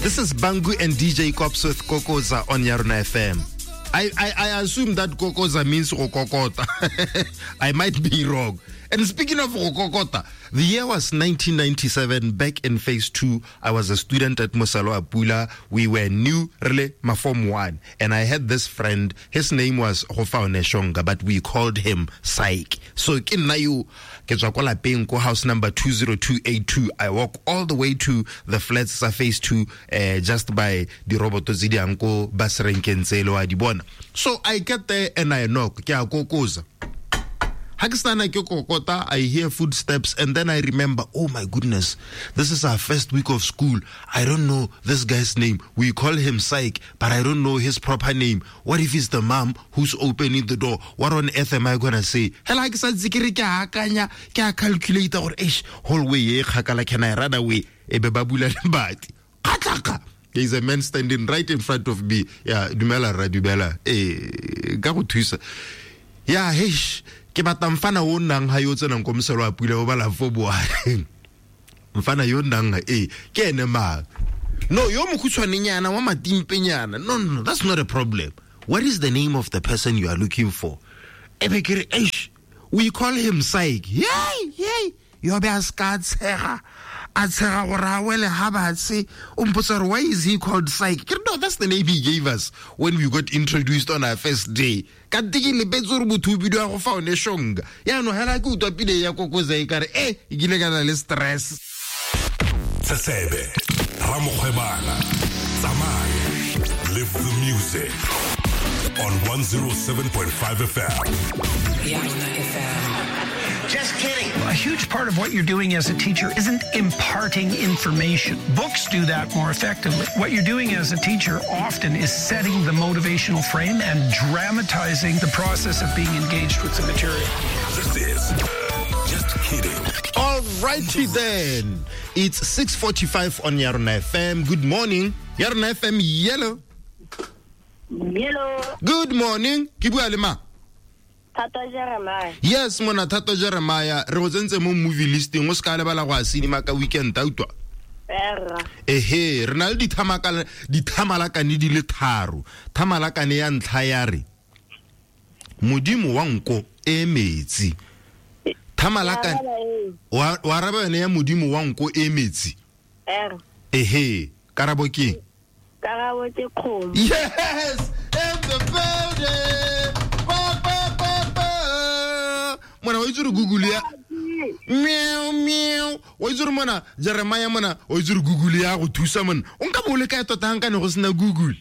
This is Bangu and DJ Kops with Kokoza on Yarona FM. I assume that Kokoza means Rokokota. I might be wrong. And speaking of Rokokota, the year was 1997, back in phase 2. I was a student at Moselwa Pula. We were new, really, my form 1. And I had this friend, his name was Gofaone Shonga, but we called him Syke. So, ke nna yo, ke tswa kwa lapeng ko house number 20282. I walk all the way to the flats sa phase 2, just by the roboto tse di yang ko bus renkeng tse le wa di bona. So I get there and I knock. Ke a kokoza. Ha ke sana ke kokota, I hear footsteps and then I remember, oh my goodness, this is our first week of school. I don't know this guy's name. We call him Syke, but I don't know his proper name. What if it's the mom who's opening the door? What on earth am I going to say? Hela ke sa ntse ke re ke a akanya, ke a calculate gore, eish, hallway e kgakala, can I run away? E be ba bula lebati. Kgatlaka. There is a man standing right in front of me. Yeah, dumela rra, dumela. Ka go thusa. Yeah, heish. Ke batla mfana o nnang ga yo tsenang ko moselo wa pula o bala fo boa. Mfana yo nnang ga, ke ene mang? No, yo mokhutshwanenyana wa matimpenyana. No, no, no, that's not a problem. What is the name of the person you are looking for? E be ke re, eish, we call him Syke. Yay, yay. Yo be a ska tshega. A tshega gore a wele ha batse. O mpotsa gore, why is he called Syke? Ke re, no, that's the name he gave us when we got introduced on our first day. Ka nte ke lebetse gore motho o bidiwa go fa one Shonga. Yaanong hela ke utlwa pina ya Kokoza e kare, e kile ka na le stress. Sesebe, Ramokgwebana, tsamaya, live the music on 107.5 FM. Yarona FM. Just kidding. A huge part of what you're doing as a teacher isn't imparting information. Books do that more effectively. What you're doing as a teacher often is setting the motivational frame and dramatizing the process of being engaged with the material. This is Just Kidding. All righty then. It's 6:45 on Yarona FM. Good morning. Yarona FM, yellow. Yellow. Good morning. Ke bua le mang? Thato Jeremiah. Yes, mona Thato Jeremiah. Re go tsentse mo movie listing, o ska lebala go a cinema ka weekend, a utlwa? Erra. Ehe, re na le dithamalakane di le tharo. Thamalakane ya ntlha ya re Modimo wa nko e metsi. Thamalakane wa araba yone ya Modimo wa nko e metsi. Erra. Ehe, karabo ke? Karabo ke kgomo. Yes, in the building. Ba, ba, ba, ba. Mona wa itse re Google ya meow meow. Wa itse re mona Jeremiah mona wa itse re Google ya go thusa mona. O nka bo le kae tota ha nka ne go sena Google?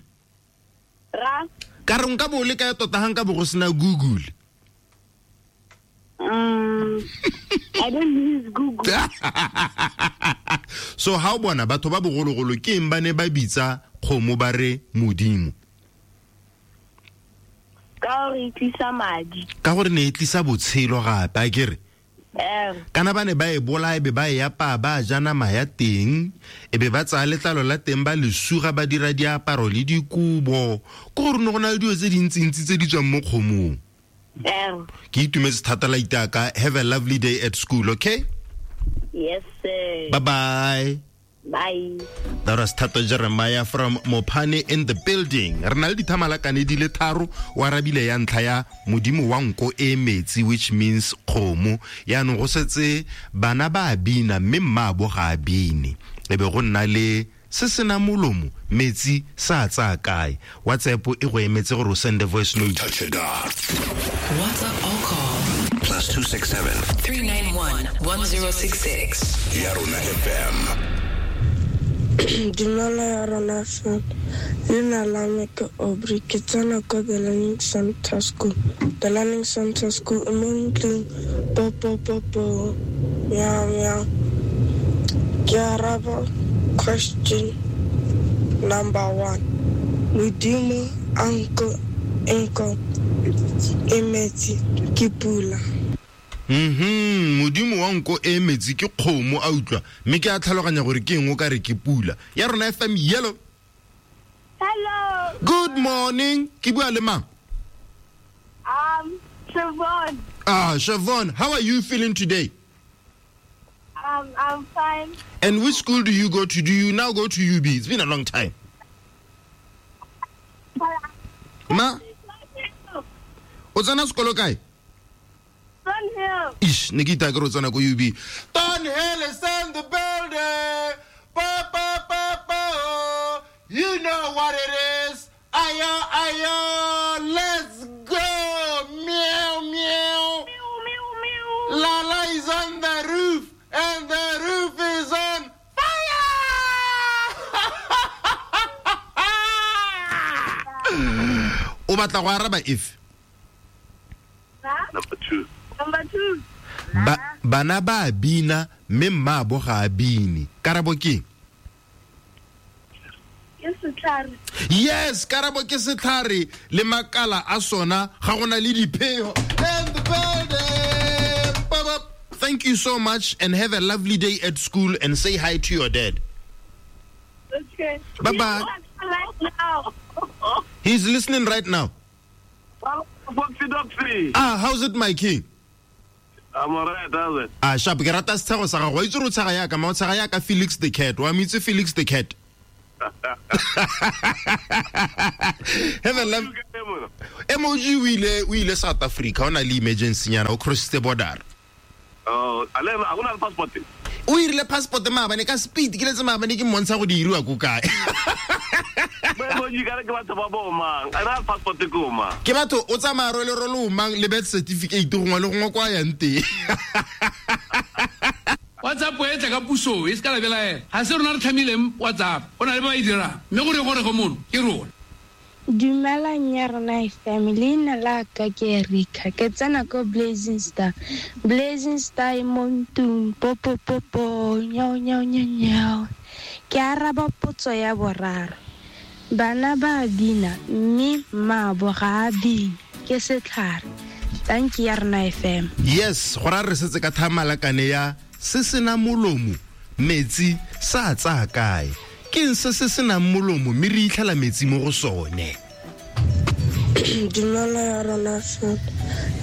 Ra? Ka re nka bo le kae tota ha nka bo go sena Google? I don't use Google. So ha o bona batho ba bogologolo ke eng ba ne ba bitsa kgomo ba re Modimo? Ka gore e tlisa madi. Ka gore ne e tlisa botshelo gape, a ke re? Kana ba ne ba e bolaya, be ba e apaya, ba ja nama ya teng, e be ba tsaya letlalo la teng, ba le suga, ba dira diaparo le dikobo. Ke gore ne go na le dilo tse dintsintsi tse di tswang mo kgomong. Ke itumetse thata la itaka. Have a lovely day at school, okay? Yes, sir. Bye-bye. Bye. That was Thato Jeremiah from Mopane in the building. Re na le dithamalakane di le tharo, o arabile ya ntlha ya Modimo wa nko e metsi, which means kgomo. Yaanong go setse bana ba a bina, mme mmaabo ga a bine. E be go nna le se sena molomo, metsi sa tsaya kae. WhatsApp e go emetse gore o send a voice note. Touch it up. WhatsApp or call +267 391 1066. Yarona FM. Dumela Yarona FM. Leina la me ke Aubrey, ke tsena ko The Learning Center School. The Learning Center School e mo ntlong. Po, po, po, po. Meow, meow. Ke araba question number 1. Modimo a nko enko e metsi ke pula. Modimo wa nko e metsi ke kgomo a utlwa, mme ke a tlhaloganya gore ke eng o ka re ke pula. Ya rona FM, yellow. Hello. Good morning. Ke bua le mang? Siobhan. Siobhan, how are you feeling today? I'm fine. And which school do you go to? Do you now go to UB? It's been a long time. Ma? O tsena sekolo kae? Thornhill. Ish, ne ke itaya ke re o tsena ko UB. Thornhill is in the building. Pa, pa, pa, pa, oh. You know what it is. Ayo, ayo, let's go. Meow, meow. Meow, meow, meow. Lala is on the roof, and the roof is on fire. O batla go araba if? Number 2. Number 2. Bana ba bina mme mmaabo ga a bine. Karabo ke? Ke setlhare. Yes, karabo ke setlhare le makala a sona ga gona le diphego. And the building. Thank you so much and have a lovely day at school and say hi to your dad. Okay. Bye-bye. Right now. He's listening right now. Foxy Doxy. Ah, how's it, my king? I'm alright, how's it? Ah, sharp. Ke rata setshego sa gago. Wa itse gore o tshega yaka, ma o tshega yaka Felix the Cat. Wa mo itse Felix the Cat? Have a love. Emoji o ile South Africa. O na le emergency nyana, o crossitse border. Oh, a le a gona le passport. O irile passport maabane ka speed, ke letse maabane ke mmontsha go di iriwa ko kae. Emoji ka re ke batho ba bo mang? A na passport ko mang? Ke batho o tsamaya role role o mang le birth certificate gongwe le gongwe kwa yang teng. WhatsApp e tla ka puso e se ka la belaela. Ha se rona re tlhamileng WhatsApp, o na le ba e dirang. Mme gore gore go mono ke rona. Dumelang ya rona FM, leina la ka ke Erika, ke tsena ko Blazing Star. Blazing Star e mo ntlong, popo popo, nyao nyao nyao nyao. Ke araba potso ya boraro. Bana ba bina mme mmaabo ga a bine, ke setlhare. Thank you ya rona FM. Yes, go ra re setse ka thamalakane ya se sena molomo, metsi sa tsaya kae. Ke se se senang molomo mme re itlhela metsi mo go sone. Dumela ya rona FM.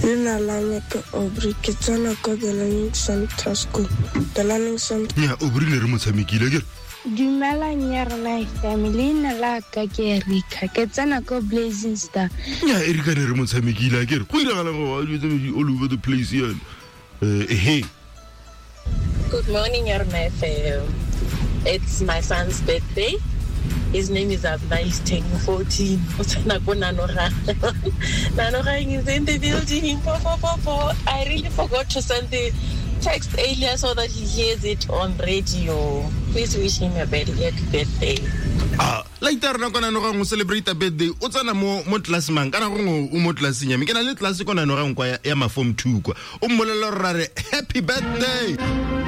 Leina la me ke Aubrey, ke tsena ko The Learning Center School. The Learning Center. Nya, Aubrey ne re mo tshamekile ke. Dumelang ya rona FM, leina la ka ke Erika, ke tsena ko Blazing Star. Nya, Erika ne re mo tshamekile ke re. Go iragala go all over the place yana. Hey. Good morning, Yarona FM. It's my son's birthday. His name is Abna. He's turning 14. Nanogang is in the building. I really forgot to send the text earlier so that he hears it on radio. Please wish him a very happy birthday. Ah, like that, rona kona nogang o celebrate a birthday. O tsena mo class mang? Kana gongwe o mo classeng ya me. Ke na le class kona nogang kwa ya ma form 2 kwa. O mmolelela gore ra re happy birthday.